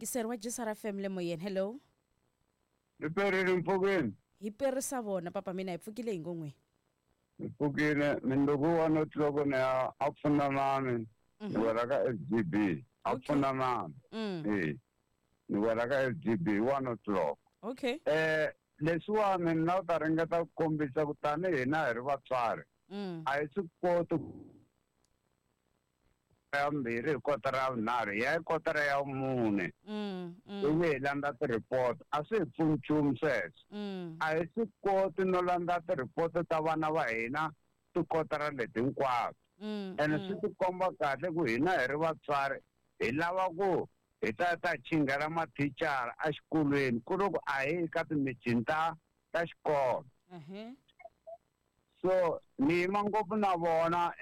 Yingiseri wa JSR FM le moyeni. Hello. Hi perile mpfukeni. Hi perisa vona papa mina hi pfukile hi ngo n'we. Hi pfukile mindzuku 1 o'clock ni ya a pfunanani. Ni wela ka SGB. A pfunanani. Eh. Ni wela ka SGB 1 o'clock. Okay. Leswiwani ni lava ku ta ringeta ku kombisa ku tanihi hina hi ri vatswari. A hi swi koti ya 2 hi kotara ya 3 hi ya hi kotara ya 4. Ivi hi landza ti-report a swi hi pfuni nchumu sweswo. A hi swi koti no landza ti-report ta vana va hina tikotara leti hinkwato. Ene swi tikomba kahle ku hina hi ri vatswari hi lava ku hi ta chinghela mathicara exikolweni ku ri ku a hi ka timithini ta xikolo. So ni yima ngopfu na vona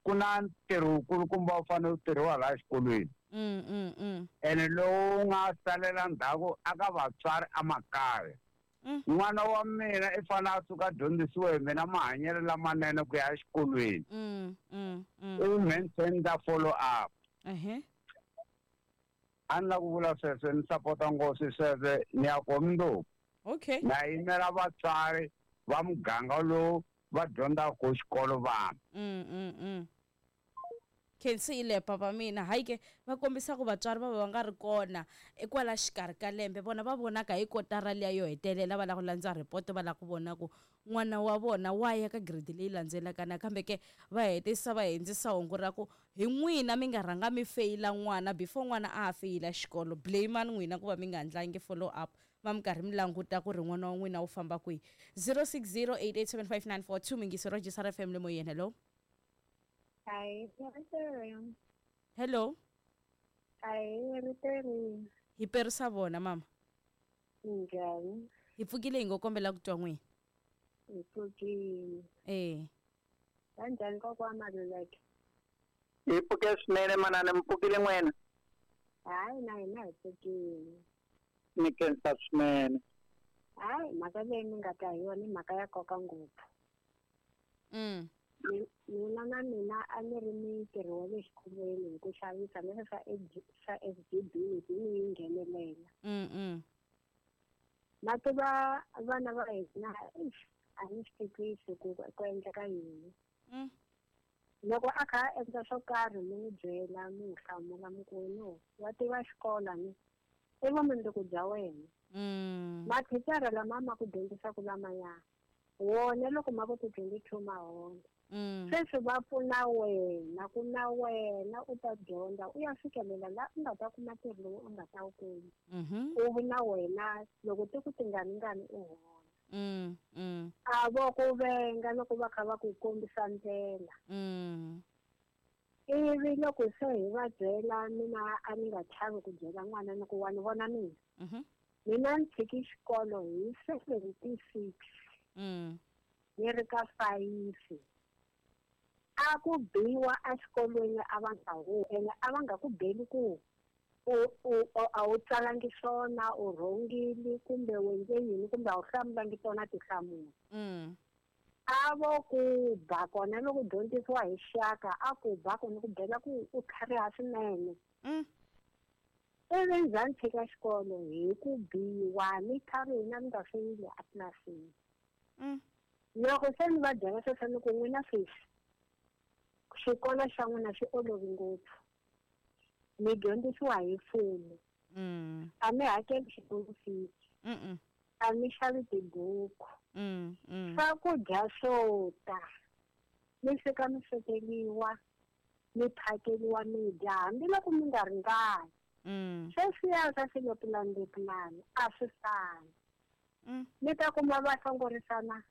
ku na ntirho wukulukumba wu fanele wu tirhiwa laha xikolweni. Ene lowu nga salela ndzhaku aka vatswari emakaya. N'wana wa mina i fanele a suka a dyondzisiwe hi mina mahanyelo lamanene ku ya exikolweni. Ivi maintain ta follow up. A ni la ku vula sweswo ni sapota ngopfu sweswo ni ya ko mundzuku. Okay. Na yimela vatswari va muganga lowu va dyondzaka xikolo vana. Khensile papa mina hayi ke va kombisa ku vatswari va va nga ri kona ekwala xikarhi ka lembe vona va vonaka hi kotara liya yo hetelela va lava ku landza report va lava ku vona ku n'wana wa vona wa ya ka grade leyi landzelaka nakambe ke va hetisa va hindzisa hungu ra ku hi n'wina mi nga rhanga mi feyila n'wana before n'wana a ha feyila xikolo blame n'wina ku va mi nga ndlangi follow up va mi karhi mi languta ku ri n'wana wa n'wina wu famba kwihi. 0608875942 mingiso ra JSR FM le moyeni. Hello. Hi, Hello. Hi, Riteri. Hi perisa vona mama. Njhani? Hi pfukile hi ngo kombela ku twa n'wina. Hi pfukile. Eh. Kanjhani kokwa Maluleke? Hi pfuke swinene manana, mi pfukile n'wina? Hayi na hina hi pfukile. Ni khensa swinene. Hayi mhaka leyi mi nga ta hi yona i mhaka ya nkoka ngopfu. Mina na mina a ni ri mintirho wa le xikolweni hi ku xavisa na swa swa SGB leswi ni yi nghenelela. Ma tiva vana va hina a ni swi twisisi ku ku endleka yini. Loko a kha a endla swo karhi mi n'wi byela mi n'wi hlamula mi ku no wa tiva xikolo ni i vumundzuku bya wena. Mathicara lama ma ku dyondzisaka lamaya wona loko ma ku ti 22 ma hola. Sweswi va pfuna wena ku na wena u ta dyondza u ya fikelela la u nga ta kuma ntirho lowu u nga ta wu kuma. U vi na wena loko ti ku tinganingani u hola. A vo ku venga loko va kha va ku kombisa ndlela. Ivi loko se hi va byela mina a ni nga chavi ku byela n'wana ni ku wa ni vona mina. Mina ni tshiki xikolo hi 76. Ni ri ka 5. A ku biwa exikolweni a va nga hu ene a va nga ku beli ku a wu tsalangi swona u rhongile kumbe u endle yini kumbe a wu hlamulangi tona tinhlamulo. A vo ku ba kona loko dyondzisiwa hi xaka a ku ba kona ku byela ku u tlhariha swinene. Ivi ndzhaku ni tshika xikolo hi ku biwa ni tlharihi na ni nga feyili a tlilasini. Loko se ni va byela sweswo ni ku n'wina sweswi xikolo xa n'wina xi olovi ngopfu. Mi dyondzisiwa hi mfumo. A mi hakeli xikolo fees. A mi xavi tibuku. Swakudya swo ta. Mi fika mi swekeriwa, mi phakeriwa mi dya hambiloko mi nga ringani. Sweswiya swa swilepulani a swi fani. Mi ta kuma va hlongorisana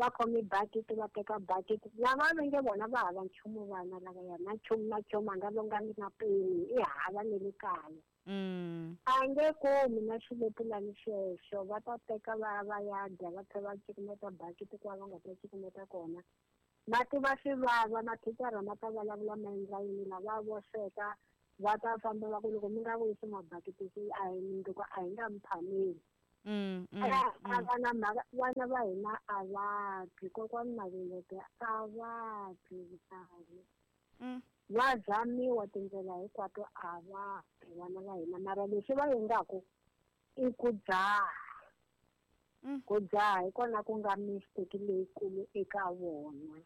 va khome bakiti va teka bakiti lava va nge vona va hava nchumu vana lavaya na nchumu na nchumu a nga longangi na peni i hava ne le kaya. A nge kumi na xilepulani xexo va ta teka va va ya dya va tlhela va cukumeta bakiti kwala va nga ta cukumeta kona. Mati va swi vava mathicara ma ta vulavula ma endla yini lava vo sweka va ta famba va ku loko mi nga vuyisi mabakiti a hi mundzuku a hi nga mi phameli. Vana vana va hina a va twi kokwani Maluleke a va twi vuhlalu. Va zamiwa tindlela hinkwato a va vana va hina, mara leswi va endlaku i ku dzaha. Ku dzaha hi kona ku nga mistake leyikulu eka vona.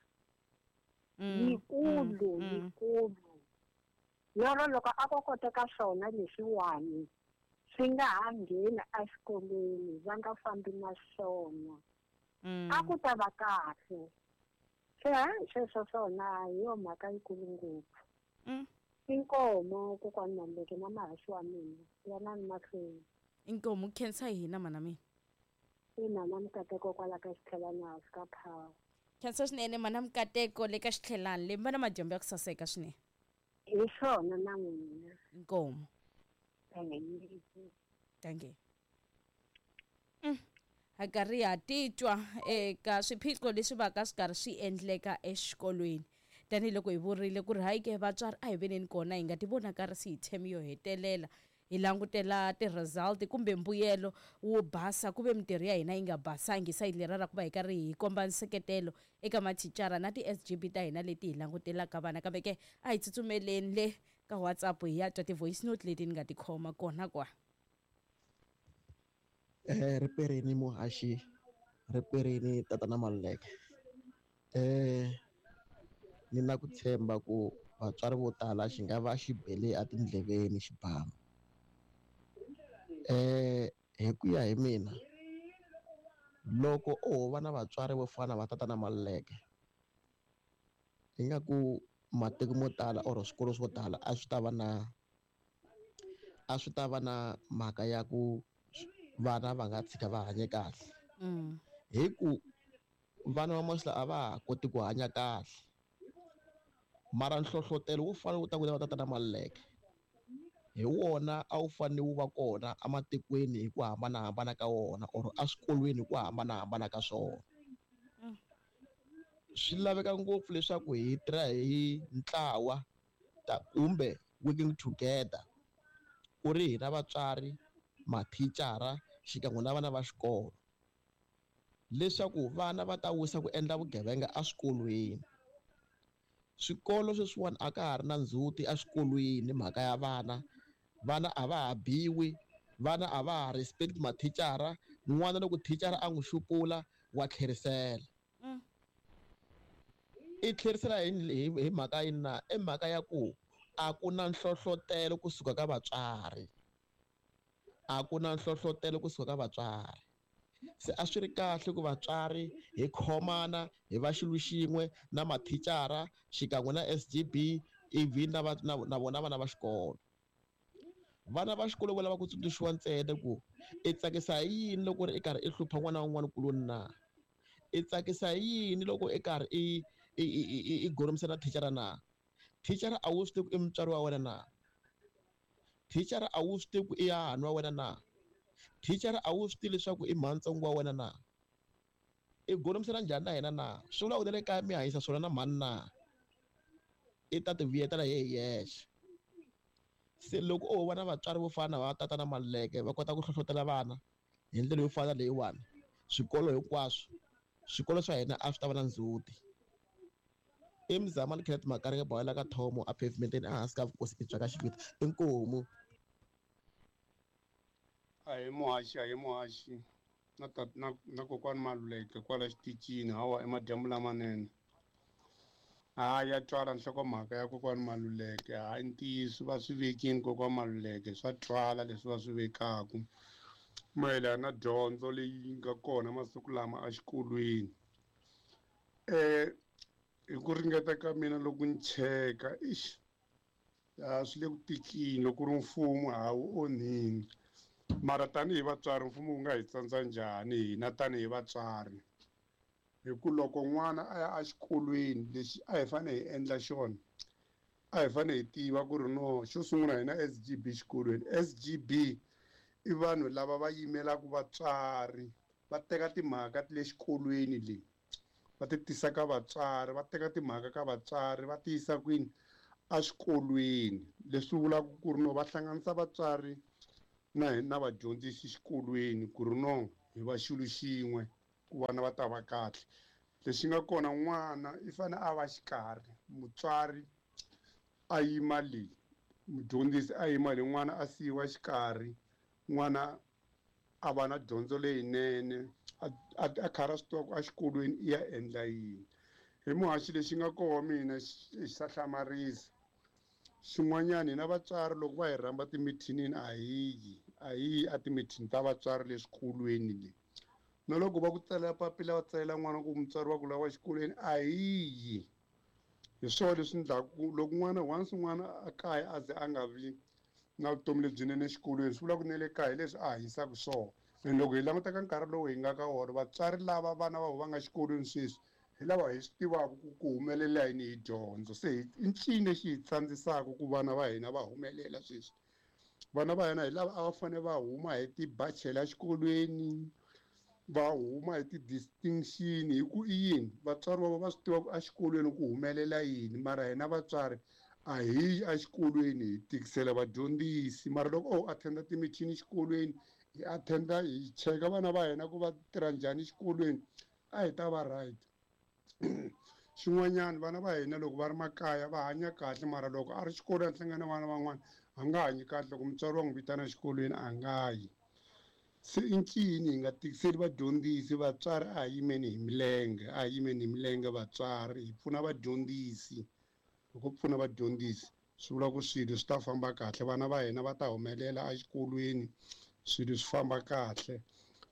Yikulu, yikulu. Lero loko a ko koteka swona leswiwani swi nga ha ngheni exikolweni, va nga fambi na swona. A ku ta va kahle. Se hayi sweswo swona hi yo mhaka yikulu ngopfu. Inkomo kokwani Maluleke na mahaxi wa mina, yanani mahlweni. Inkomo khensa hina mana mina. I mhana Mukateko kwala ka Xitlhelani hansi ka Power. Khensa swinene mhana Mukateko le ka Xitlhelani le, mi va na madyambu ya ku saseka swinene. Hi swona na n'wina. Inkomo. Dankie. Ha karhi ha titwa eka swiphiqo leswi va ka swi karhi swi endleka exikolweni. Tanihiloko hi vurile ku ri hayi ke vatswari a hi veneni kona hi nga ti vonakarisi hi theme yo hetelela, hi langutela ti-result kumbe mbuyelo wo basa ku ve mintirho ya hina yi nga basangi sayiti leriya ra ku va hi karhi hi komba nseketelo eka mathicara na ti-S_G_B ta hina leti hi langutelaka vana. Kambe ke a hi tsutsumeleni le ka WhatsApp hi ya twa ti-voice note leti ni nga ti khoma kona kwa. Riperini muhaxi, riperini tatana Maluleke. Ni na ku tshemba ku vatswari vo tala xi nga va xi bele etindleveni xibamu. Hi ku ya hi mina, loko o va na vatswari vo fana va tatana Maluleke, ingaku matiko mo tala or swikolo swo tala a swi ta va na, a swi ta va na mhaka ya ku vana va nga tshika va hanye kahle. Hi ku vana va masiku lawa a va ha koti ku hanya kahle. Mara nhlohlotelo wu fanele wu ta ku va tatana Maluleke, hi wona a wu fanele wu va kona ematikweni hi ku hambanahambana ka wona or eswikolweni hi ku hambanahambana ka swona. Swi laveka ngopfu leswaku hi tirha hi ntlawa kumbe working together, ku ri hina vatswari, mathicara xikan'we na vana va xikolo, leswaku vana va ta wisa ku endla vugevenga eswikolweni. Swikolo sweswiwani a ka ha ri na ndzhuti eswikolweni mhaka ya vana, vana a va ha biwi, vana a va ha respect mathicara. N'wana loko thicara a n'wi xupula wa tlherisela. I tlherisela hi mhaka yini na? I mhaka ya ku a ku na nhlohlotelo kusuka ka vatswari. A ku na nhlohlotelo kusuka ka vatswari. Se a swi ri kahle ku vatswari hi khomana hi va xilo xin'we na mathicara xikan'we na S_G_B ivi na na vona vana va xikolo. Vana va xikolo va lava ku tsundzuxiwa ntsena ku i tsakisa hi yini loko ri i karhi i hlupha n'wana wa un'wana kuloni na? I tsakisa hi yini loko i karhi i goromisa na thicara na? Thicara a wu swi tivi ku i mutswari wa wena na? Thicara a wu swi tivi ku i hahani wa wena na? Thicara a wu swi tivi leswaku i mhantsongo wa wena na? I golomisana njhani na yena na? Swi vula ku na le kaya mi hanyisa swona na mhani na? I ta ti vuyetela hi yexe. Se loko o va na vatswari vo fana na va tatana Maluleke va kota ku hlohlotela vana hi ndlela yo fana leyiwani, swikolo hinkwaswo, swikolo swa hina a swi ta va na ndzhuti. I Mzamani Kenneth Makaringe Bawela ka Thomo a pavementeni ehansi ka vukosi bya ka Xiviti. Inkomu. A hi muhaxi, a hi muhaxi na na kokwani Maluleke kwala xitichini hawa emadyambu lamanene. Ha ya twala nhlokomhaka ya kokwani Maluleke, hayi ntiyiso va swi vekini kokwani Maluleke, swa twala leswi va swi vekaku mayelana na dyondzo leyi nga kona masiku lama exikolweni. Hi ku ringeta ka mina loko ni cheka, ixi swi le ku tikini loko ri mfumo ha wu onhini. Mara tanihi vatswari mfumo wu nga hi tsandza njhani hina tanihi vatswari? Hi ku loko n'wana a ya exikolweni lexi a hi fanele hi endla xona, a hi fanele hi tiva ku ri no xo sungula hina S_G_B xikolweni. S_G_B i vanhu lava va yimelaka vatswari, va teka timhaka ta le xikolweni leyi va ti tisa ka vatswari, va teka timhaka ka vatswari va ti yisa kwini exikolweni. Leswi vulaka ku ri no va hlanganisa vatswari na na vadyondzisi xikolweni ku ri no hi va xilo xin'we ku vana va ta va kahle. Lexi nga kona n'wana i fanele a va xikarhi, mutswari a yima leyi mudyondzisi a yima leyi n'wana a siyiwa xikarhi n'wana a va na dyondzo leyinene a karhi a swi tiva ku exikolweni i ya endla yini. Hi muhaxi lexi nga koho mina xi sa hlamarisa. Xin'wanyana hina vatswari loko va hi rhamba timithinini a hi yi a timithini ta vatswari le swikolweni le. Na loko va ku tsalela papila va tsalela n'wana ku mutswari wa ku lawa exikolweni a hi yi. Hi swona leswi endlaku loko n'wana once n'wana a kaya a ze a nga vi na vutomi lebyinene exikolweni swi vula ku na le kaya hi leswi a hanyisaka swona. And loko hi languta ka nkarhi lowu hi nga ka wona vatswari lava vana va vona va nga xikolweni sweswi hi lava hi swi tivaka ku humelela yini hi dyondzo. Se i ncini lexi hi tsandzisaka ku vana va hina va humelela sweswi. Vana va hina hi lava a va fanele va huma hi tibachela exikolweni, va huma hi ti-distinction hi ku i yini vatswari va va swi tiva ku exikolweni ku humelela yini mara hina vatswari a hi yi exikolweni hi tikisela vadyondzisi. Mara loko o attenda timithini exikolweni hi attenda hi cheka vana va hina ku va tirha njhani exikolweni a hi ta va right. Xin'wanyana vana va hina loko va ri makaya va hanya kahle mara loko a ri xikolweni a hlangana na vana van'wana a nga hanyi kahle loko mutswari wa n'wi vitana exikolweni a nga yi. Se i ncini hi nga tikiseli vadyondzisi vatswari a hi yimeni hi milenge a hi yimeni hi milenge vatswari hi pfuna vadyondzisi. Loko pfuna vadyondzisi swi vula ku swilo swi ta famba kahle vana va hina va ta humelela exikolweni swilo swi famba kahle.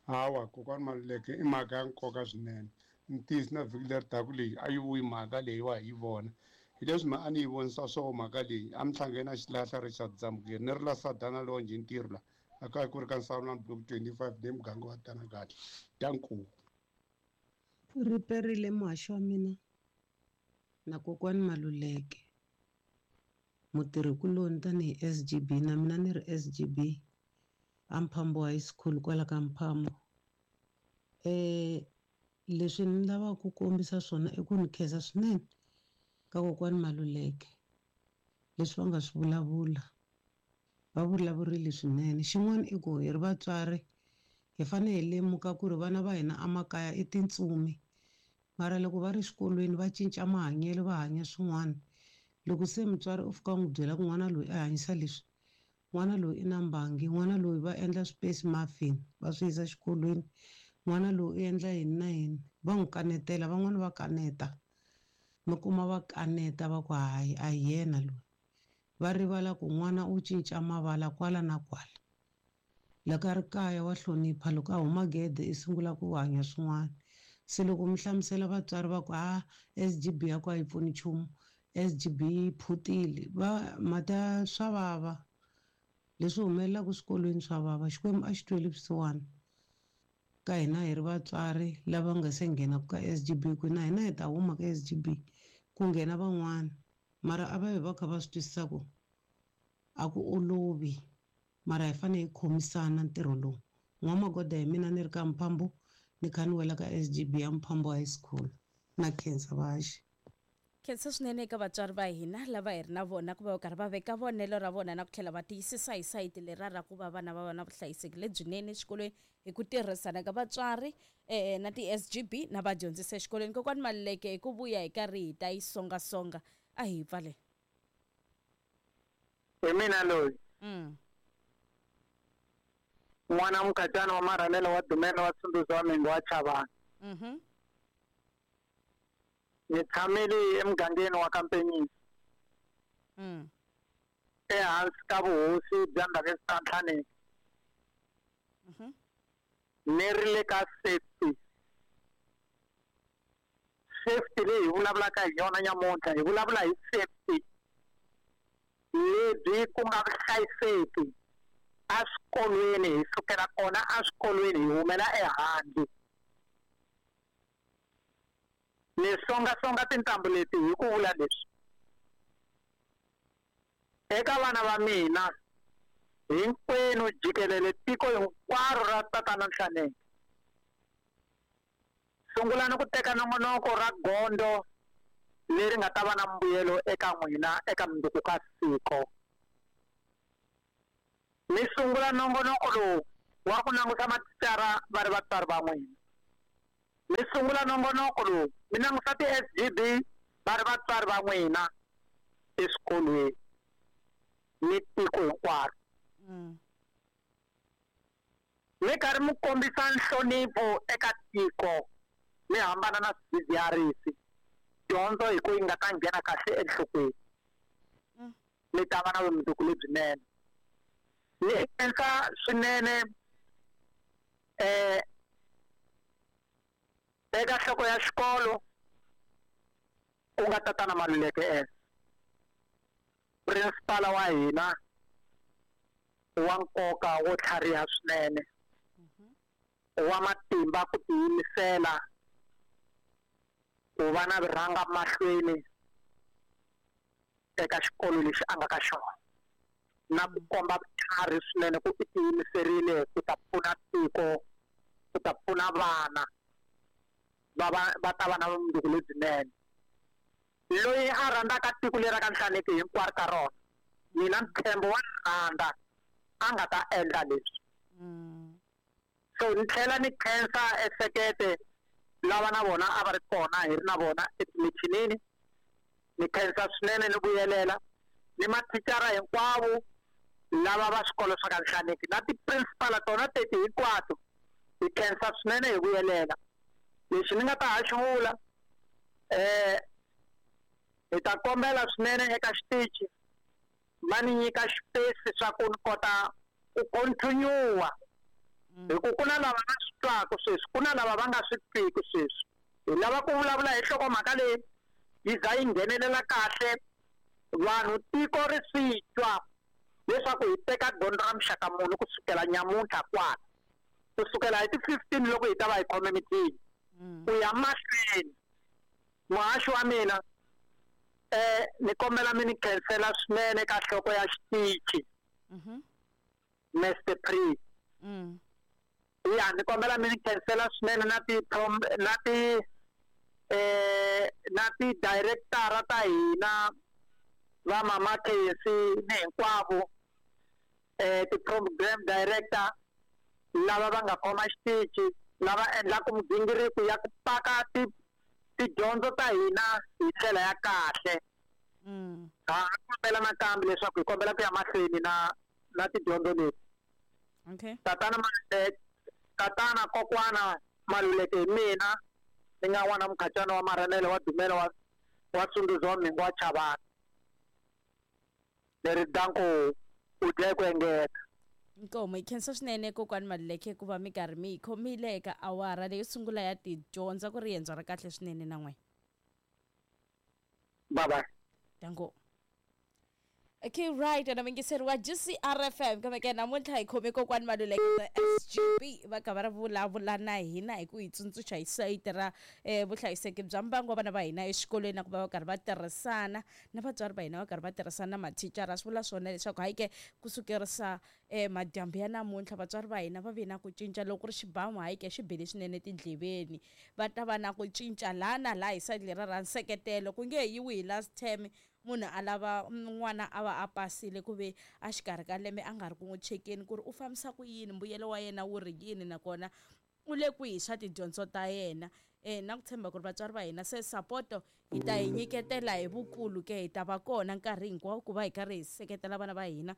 Hawa kokwani Maluleke i mhaka ya nkoka swinene. Ntiyiso na vhiki leri taka leyi a yi vuyi mhaka leyi wa hi yi vona. Hi leswi ma a ni yi vonisa swona mhaka leyi a mi hlangene na xilahla Richard Dzamukeri ni ri la Sadana Lonje ntirho la a kaya ku ri ka Nsawulani block 25 le muganga wa Tanakati. Danko. Ri perile muhaxi wa mina na kokwani Maluleke mutirhikuloni tanihi SGB na mina ni ri SGB a Mphambo High School kwala ka Mphambo. Leswi ni lavaka ku kombisa swona i ku ni khensa swinene ka kokwani Maluleke leswi va nga swi vulavula va vulavurile swinene. Xin'wana i ku hi ri vatswari hi fanele hi lemuka ku ri vana va hina emakaya i tintsumi mara loko va ri xikolweni va cinca mahanyelo va hanya swin'wana. Loko se mutswari u fika u n'wi byela ku n'wana loyi a hanyisa leswi n'wana loyi i na mbangi n'wana loyi va endla space muffin va swi yisa xikolweni n'wana loyi u endla yini na yini va n'wi kanetela van'wani va kaneta mi kuma va kaneta va ku hayi a hi yena loyi. Va rivala ku n'wana u cinca mavala kwala na kwala. Loko a ri kaya wa hlonipha loko a huma gede i sungula ku hanya swin'wana. Se loko mi hlamusela vatswari va ku a SGB ya ku a yi pfuni nchumu SGB yi phutile va mata swa vava leswi humelelaka swikolweni swa vava. Xikwembu a xi tweli vusiwana ka hina hi ri vatswari lava nga se nghenaka ka SGB ku na hina hi ta huma ka SGB ku nghena van'wana mara a va vi va kha va swi twisisa ku a ku olovi mara hi fanele hi khomisana ntirho lowu. N'wamagoda hi mina ni ri ka Mphambo ni kha ni wela ka SGB ya Mphambo High School na khensa vaxi. Khensa swinene eka vatswari va hina lava hi ri na vona ku va karhi va veka vonelo ra vona na ku tlhela va tiyisisa hi sayiti lera ra ku va vana va va na vuhlayiseki lebyinene exikolweni hi ku tirhisana ka vatswari na ti-SGB na vadyondzisi exikolweni. Kokwani Maluleke hi ku vuya hi karhi hi ta yi songasonga a hi pfale. Hi mina loyi. N'wana mukhatsana wa marhanelo wa Dumela wa Tsunduzo wa Mhingo wa Chavani. Ni tshamile emugangeni wa Kampenyisi. Ehansi ka vuhosi bya Ndhavezitha Nhlaneki. Ni ri le ka safety. Safety leyi hi vulavulaka hi yona nyamuntlha hi vulavula hi safety lebyi ku nga vuhlayiseki eswikolweni hi sukela kona eswikolweni hi humela ehandle. Ni songasonga tintambu leti hi ku vula leswi eka vana va mina hinkwenu jikelele tiko hinkwaro ra Tatana Nhlaneki. Sungulani ku teka nongonoko ra gondzo leri nga ta va na mbuyelo eka n'wina eka mundzuku ka siku. Mi sungula nongonoko lowu wa ku langusa mathicara va ri vatswari va n'wina. Mi sungula nongonoko lowu mi langusa ti-SGB va ri vatswari va n'wina. eswikolweni ni tiko hinkwaro. Mi karhi mi kombisa nhlonipho eka tiko, mi hambana na swidzidziharisi, dyondzo hi ku yi nga ta nghena kahle enhlokweni. Mi ta va na vumundzuku lebyinene. Ni khensa swinene eka nhloko ya xikolo ku nga Tatana Maluleke principal wa hina wa nkoka wo tlhariha swinene, wa matimba ku tiyimisela ku va na vurhanga mahlweni eka xikolo lexi a nga ka xona, na ku komba vutlhari swinene ku i tiyimiserile ku ta pfuna tiko, ku ta pfuna vana va ta va na vumundzuku lebyinene. Loyi a rhandzaka tiko leri ra ka Nhlaneki hinkwaro ka rona, mina ntshembo wa rhandza a nga ta endla leswi. So ni tlhela ni khensa esekete lava na vona a va ri kona hi ri na vona etimichinini. Ni khensa swinene ni vuyelela ni mathicara hinkwavo lava va swikolo swa ka Nhlaneki na ti-principal tona teti hinkwato, hi khensa swinene hi vuyelela. Lexi ni nga ta ha xi vula, hi ta kombela swinene eka xitichi va ni nyika xipesi swa ku ni kota ku continue-a, hi ku ku na lava nga swi twaka sweswi, ku na lava va nga swi twiki sweswi. Hi lava ku vulavula hi nhlokomhaka leyi yi za yi nghenelela kahle vanhu, tiko ri swi twa leswaku hi teka gondzo ra muxaka muni kusukela nyamuntlha kwala, kusukela hi ti 15 loko hi ta va hi khome mitini ku ya mahlweni. Muhaxi wa mina, ni kombela mi ni khensela swinene ka nhloko ya xitichi, Mr Pre. Ya, ni kombela mi ni khensela swinene na ti na ti na ti director ta hina va Mama Khensi ni hinkwavo, ti program director lava va nga khoma xitichi, lava endlaka migingiriko ya ku paka tidyondzo ta hina hi ndlela ya kahle. Ha kombela nakambe leswaku hi kombela ku ya mahlweni na tidyondzo leti. Tatana Tatana kokwana Maluleke hi mina, ni nga n'wana Mukhacani wa Marhanele wa Dumela wa Sunduza wa Mhingu wa Chavani. Leri danko u dya ku engeta. Inkomu hi khensa swinene kokwani Maluleke ku va mi karhi mi hi khomile eka awara leyo sungula ya tidyondzo, ku ri riendzo ra kahle swinene na n'wina. Bye bye. Danko. Okay, right, and muyingiseri wa GCRFM kambe ke namuntlha hi khome kokwani Maluleke SGB va ka va ri vulavula na hina hi ku hi tsundzuxa hi sayiti ra vuhlayiseki bya mbangu wa vana va hina exikolweni, na ku va va karhi va tirhisana na vatswari va hina, va karhi va tirhisana na mathicara. Swi vula swona leswaku hayi ke kusukerisa madyambu ya namuntlha vatswari va hina va ve na ku cinca loko ku ri xibamu, hayi ke xi bile swinene tindleveni, va ta va na ku cinca laha na laha hi sayiti leriya ra nseketelo. Ku nge yiwi hi last term munhu a lava n'wana a va a pasile ku ve a xikarhi ka lembe a nga ri ku n'wi chekeni ku ri u fambisa ku yini, mbuyelo wa yena wu ri yini, nakona u le kwihi swa tidyondzo ta yena. Na ku tshemba ku ri vatswari va hina se sapoto hi ta hi nyiketela hi vukulu ke, hi ta va kona nkarhi hinkwawo ku va hi karhi hi seketela vana va hina,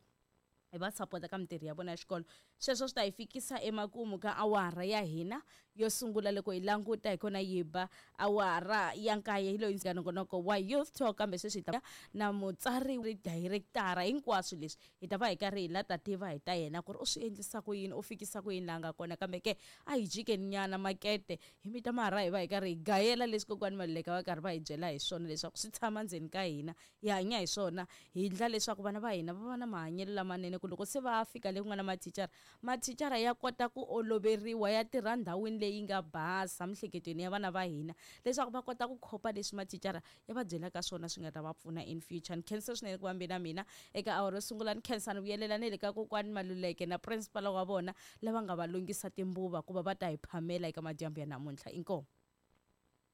hi va sapota ka mintirho ya vona ya xikolo. Sweswo swi ta hi fikisa emakumu ka awara ya hina yo sungula. Loko hi languta hi kona yi ba awara ya 9 hi loyi ndzi nongonoko wa Youth Talk, kambe sweswi hi ta na mutsari director hinkwaswo leswi hi ta va hi karhi hi la ta tiva hi ta yena ku ri u swi endlisa ku yini, u fikisa ku yini laha nga kona. Kambe ke a hi jikeni nyana makete hi mita marha hi va hi karhi hi gayela leswi kokwani Maluleke va karhi va hi byela hi swona leswaku swi tshama ndzeni ka hina, hi hanya hi swona, hi endla leswaku vana va hina va va na mahanyelo lamanene, ku loko se va fika le ku nga na mathicara, mathicara ya kota ku oloveriwa, ya tirha ndhawini leyi nga basa miehleketweni ya vana va hina, leswaku va kota ku khopa leswi mathicara ya va byelaka swona swi nga ta va pfuna in future. Ni khensa swinene ku va mi na mina eka awara yo sungula. Ni khensa ni vuyelela ni le ka kokwani Maluleke na principal wa vona lava nga va lunghisa timbuva ku va va ta hi phamela eka madyambu ya namuntlha. Inkomu.